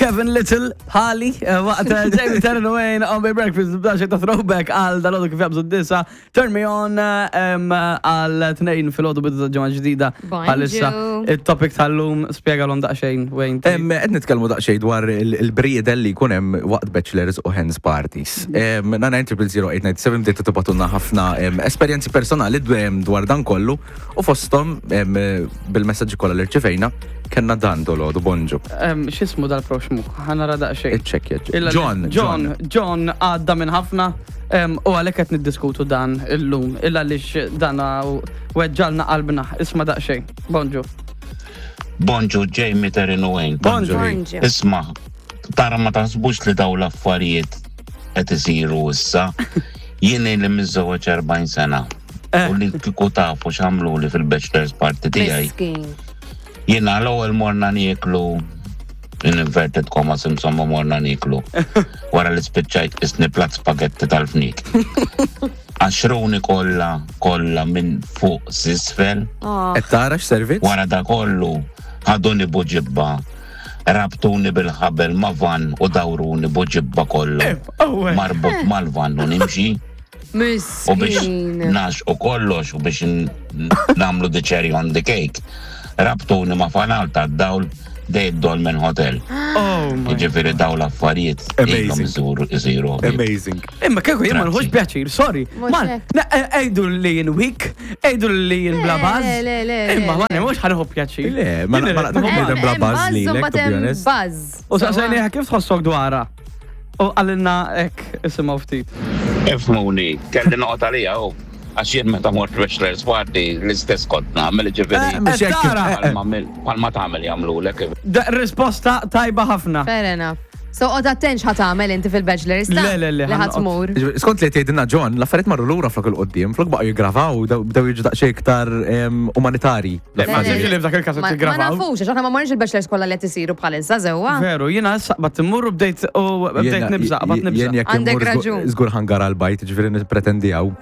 Kevin Little, bħali, eh, waqt eh, Jamie Terran Wayne on Big Breakfast, b'daxi ta' throwback għal dal-għodu kif jabżu d-disa. Turn me on eh, em, għal tnejn fil-għodu bidu ta' ġimgħa ġdida. Bonġu. Bħalissa, il-topic tal-lum spjega l-om daqxejn, Wayne. Em, Qed nitkellmu daqsxejn dwar il- il-briedel li jkun hemm waqt bachelors u hens parties. Em, Na 9000897 bdejtu tibatunna ħafna em, esperjenzi personali dw- em, dwar dan kollu u fosthom em, bil-messaġġi kollha li rċevejna kellna dan dolodu bonġu. Em, X'ismu dal-proxmu? Ħanara daqxejn. Iċċekkja. Illa li- John, John, John għadda minn ħafna em, u għalhekk qed niddiskutu dan illum. Illa għaliex dan weġġalna qalbna. Isma' daqsxejn. Bonġu. Bonġu Jamie Terrin Wayne. Bonġu. Bonġu. Isma, tara ma taħsbux li daw l-affarijiet qed isiru issa. Jien li miżżewweġ 40 sena. Eh. U li kieku tafu x'għamlu li fil-bachelor's party tiegħi. Miskin. Jiena l-ewwel morna nieklu in inverted commas insomma morna nieklu. Wara li spiċċajt isni plat spagetti tal-fnik. Għaxruni kollha kollha minn fuq s'isfel. Oh. Qed tara x'servizz? Wara da kollu ħaduni buġibba, rabtuni bil-ħabel ma' van u dawruni buġibba kollha. Oh, eh. Marbut mal-van u nimxi u biex Miskin. nax u kollox u biex n- namlu the cherry on the cake. Rabtuni ma' fanal ta' dawl dej Dolmen Hotel. Oh my. Ġifiri daw l-affarijiet ilhom Amazing. isiru isiru. Amazing. Imma kieku jien ma nħux Grazzi. pjaċir, sorry. Mhux Man, hekk. na- eh, ejdu li jien weak, ejdu li jien bla baż. Le, le, le, le, Imma ma le. mhux ħanieħu pjaċir. Le, ma Jien ma irrid naqtgħu nieħu bniedem bla Hemm buzz buzz u lilek, to mbagħad be hemm honest. Buzz. U saqsejniha kif tħossok dwarha? U għalilna hekk isimgħu ftit. Ifmuni, kelli noqgħod għalija u għax jien meta mort bachelor's party l-istess kont nagħmel ġifieri. Eh, Mhux hekk. tara. eh, eh. Palma tagħmel jagħmlulek. Da- Risposta tajba ħafna. Fair enough. So, qod attent x'ħat tagħmel inti fil-bachelor's ta' Le, le, le, li ħadd ħanqod. tmur. Ġifieri, Skont li tgħidilna John, l-affarijiet marru lura flok il-qoddim, flok baqgħu jiggravaw, bdew jiġu daqsxejn iktar em, umanitarji. Le, ma Le, le, nsibx li f'dak il-każ qed Ma ma jiggravaw. nafux, għax aħna ma morniex il-bachelor's kollha li qed isiru bħalissa sewwa. Veru, jiena issa qbad immur u bdejt u bdejt nibża, qbad nibża. Jien jekk Għandek immur raġun. żgur ħangar għal-bajt, ġifieri nippretendijaw.